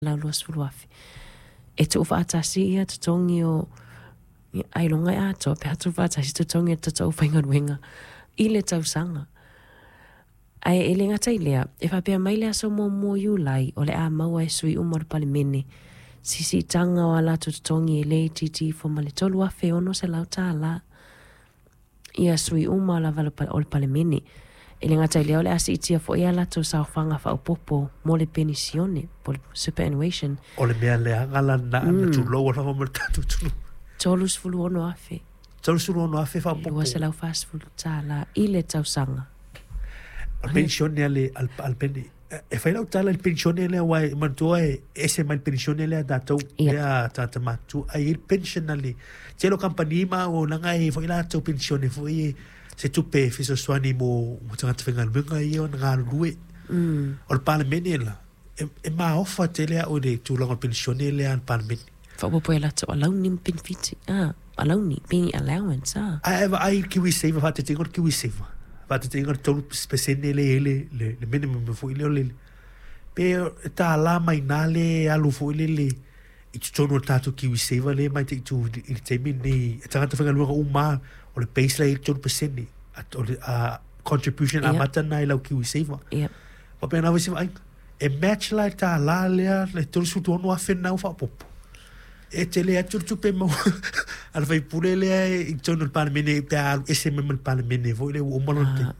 120,000. E tuufaatasi ia totogi o ailoga e atoa pe a tuufaatasi totogi o le tatou aufaigaluega i le tausaga. Ae e le gata i lea, e faapea mai le aso muamua o Iulai o le a maua e sui uma o le Palemene se siitaga o a latou totogi e le itiiti ifo ma le $3,600. Ia sui uma lava o le Palemene. E le gata i lea o le a siitia foi a latou saofaga faaopoopo mo le penisione po o le superannuation. O le mea leaga la lena mm. tulou a lava mo le tatou atunuu. 36,000. 36,000 faaopoopo. $240 i le tausaga. O le penisione a le, a le pene E fai lau tala i le penisione lea aua e manatua e ese mai le penisione lea a tatou yeah. lea tagata matutua ae i ai le pension a le tele o kamupani ma auaunaga e i ai foi latou penisione foi e se tupe e fesoasoani mo mo tagata faigaluega ia ona galulue. Mm. O le Palemene la e, e maofa tele au i le tulaga o le penisione lea a le Palemene. Faaopoopo e latou alauni ma penefiti, ah, alauni, pay allowance, ah. Ae vaai i le KiwiSaver, faataitaiga o le KiwiSaver, faataitaiga o le 3% lea e i ai le, le, le minimum foi lea o le, pe e $1 mai i ina lea e alu foi lele i totonu o le tatou KiwiSaver lea e mataitu i le taimi lenei, e tagata faigaluega uma lava, o le base la e i ai le 3%, o le contribution amata lena i lau KiwiSaver. Yep. Faapena foi se vaaiga. E match la le $1 lea le $36,000 lena ua faaopoopo. E tele atu le tupe maua a le faipule lea i totonu o le Palemene pe a alu ese mai ma le Palemene foi lea ua uma lona taimi.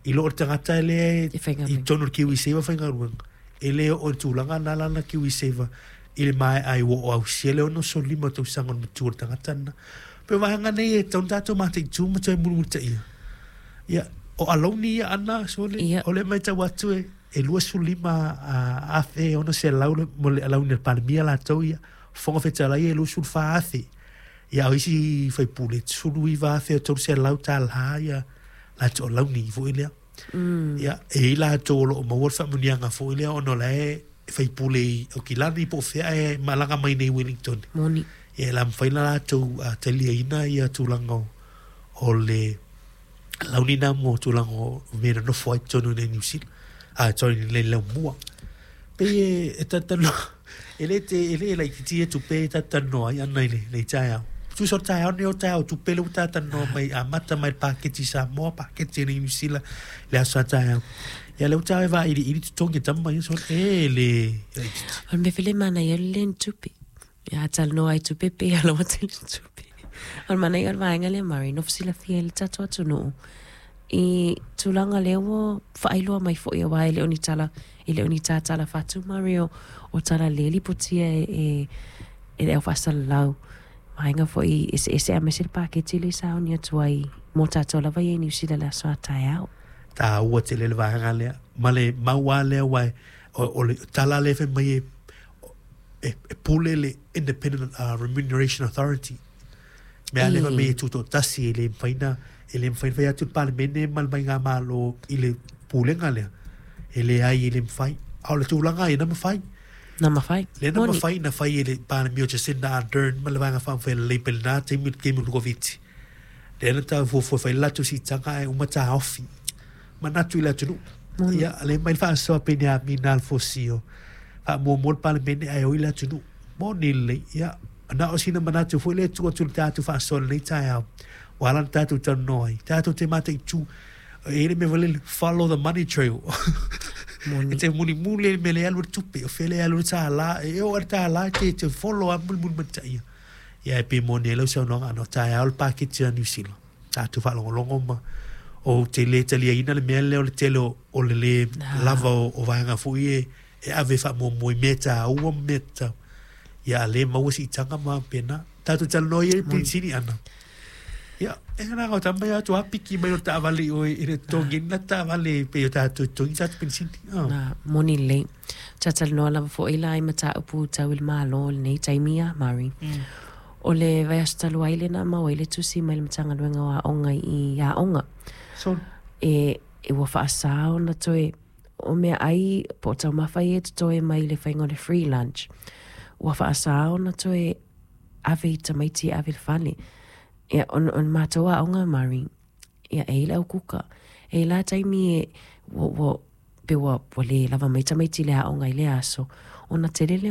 I lo le tagata lea i totonu o le KiwiSaver faigaluega, e le oo i le tulaga lena lana KiwiSaver i le maea ai ua oo ausia le 65 tausaga o le matua o le tagata lena. Pei o vaega nei e tatau ona tatou mataitu ma toe mulimulitaia. Ia, o alauni ia ana, sole, ia. O lea matau atu e, e 25,600 mo le alauni a le Palemia latou ia, Fofoga Fetalai e 24,000. Ia, o isi faipule, 19,300 tala ia latou alauni foi lea. Mm. Ia, e i ai latou o lo o maua le faamanuiaga foi lea ona o la e faipule i Aukilani po o fea ae malaga mai nei i Wellington. Moni. Ia, e la mafai ona latou taliaina ia tulaga o, o le alauni na mo tulaga o mea e nonofo ai totonu i Niu Sila. Ah, sorry, i le Laumua. Pei e, e talatalanoa, e le te, e le laitiiti ia tupe e talatalanoa ai ana i le, le taeao. Tusa o le taeao nei o le taeao o tupe lea ua talatalanoa mai, amata mai le paketi Samoa, paketi a Niu Sila, le aso sa taeao. Ia lea ua taeao e vailiili totogi e tama ia, sole, e le laitiiti. O le mea foi lea e manaia o le le ni tupe. Ia a talanoa ai tupe pei a laua tele tupe. O le manaia o le vaega lea Murray, nofo silafia e le tatou atunuu i tulaga lea ua faailoa mai foi aua e le o ni tala, e le o ni tātala fatu Murray o, o tala le lipotia e, e, e le au faasalalau. Vaega foi eseese aemaise le paketi lea i sauni atu ai mo tatou lava ia i Niu Sila i le aso a taeao. Taua tele le vaega lea, ma le mau lava lea aua o, o le tala lea e fai mai e e, e pule le Independent uh, Remuneration Authority. Mea lea fai mai e tutoatasi e le mafai na e le mafai na fai atu le Palemene ma le Faigamalo i le pulega lea. E leai e le mafai. A o le tulaga ia na mafai. Na mafai. Lea na mafai na fai e le Palemia o Jacinda Ardern ma le Vaega Faaupufai a le Labour i lena taimi le taimi o le Koviti. Lea na tau fuafua e fai le latou siitaga ae uma taofi. Manatu i le atunuu. Ia, lea mai le faasoa Peniamina Alfosio. Faamuamua le Palemene ae oi le atunuu. Moni lelei. Ia, na o sina manatu foi lea e tuu atu i le tatou faasoa i lenei taeao. Ua ala ona tatou talanoa ai. Tatou te mataitu. E i ai le mea foi lele, follow the money trail. Moni. E te mulimuli i le mea lea e alu ai le tupe, o fea lea e alu ai le $1, e oo lava i le $1 e te, te follow lava mulimuli mai ia. Ia e pei moni ai lau saunoaga ana o taeao le paketi a Niu Sila. Tatou faalogologo ma ou te le taliaina le mea lea o le tele o, o le lē lava o, o vaega foi e, e ave faamuamua i mea taua ma mea tatau. Ia a lē maua siitaga ma faapena. Tatou talanoa ia i le penisini ana. Ia, e ngana o tama ia atu apiki mai o taavale i oe i le totogi na taavale pei o tatou e totogi tatou penisini. Oh. Na, moni lelei. Talatalanoa lava foi la i mataupu tau i le Malo i lenei taimi ia, Murray. Mm. O le vaiaso talu ai lea na maua ai le tusi mai le Matagaluega o Aoga i aoga. So, e, e ua faasā ona toe o meaai po o taumafa ia e totoe mai i le faiga o le free lunch. Ua faasā ona toe ave i tamaiti e ave i le fale. Ia, o, o le matou aoga, Murray, ia, e i ai le au kuka. E i ai la taimi e, ua, ua, pe ua, ua le lava mai tamaiti i le aoga i lea aso. Ona tele lea.